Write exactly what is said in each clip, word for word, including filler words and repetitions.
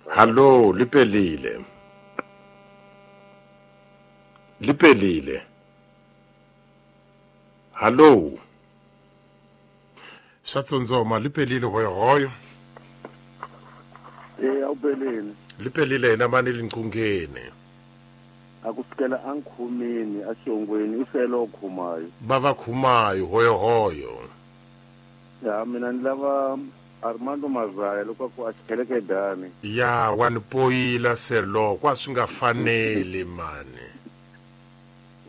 Hallo, lipelile. Lipelile. Hallo. Swa tsondzoma lipelile hoyohoyo. Eh awupelile. Lipelile yena mani linqungeni. Akufikela ankhumini axongweni ifelo khumayo. Bava khumayo hoyohoyo. Ya mina ni lava Armando Mazaya loko ku a tlheleke dani. Ya wa ni poyila selo kwa swi nga faneli mani.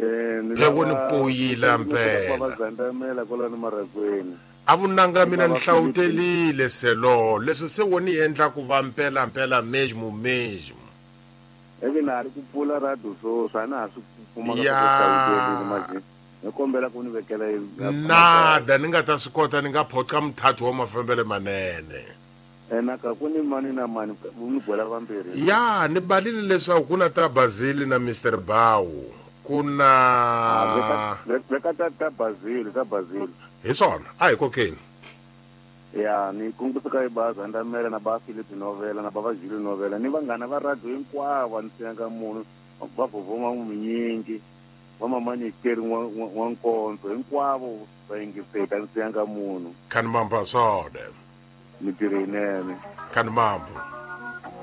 Eh ni lava ni poyila mpela. Va zandamela kwala ni marakweni. A vunanga mina ni hlawutelile selo leswi se wo ni endla ku va mpela mpela mesmo mesmo. Eke na ri ku pfula radio so swa na ha swi kuma ka ku hlawutelile manje. Ni kombela ku ni vekela nada ni nga ta swi kota ni nga phoqa muthathu wa mafambele manene. Ena ka ku ni mani na mani ni gwela vambirhi. Ya ni balile leswaku ku na ta Bazili na Mister Bawu ku na veka ta ta Bazili ta Bazili. Hi swona a hi kokeni. Ya ni kungusuka ibaza ndamela na ba Philip Novela na bava Julie Novela ni vanghana va radio hinkwavo ni siyanga munhu va vovoma minyingi va mamani keri wa nkonzo hinkwavo va yingiseka ni siyanga munhu. Khanimamba sode. Mitirho yinene. Khanimamba.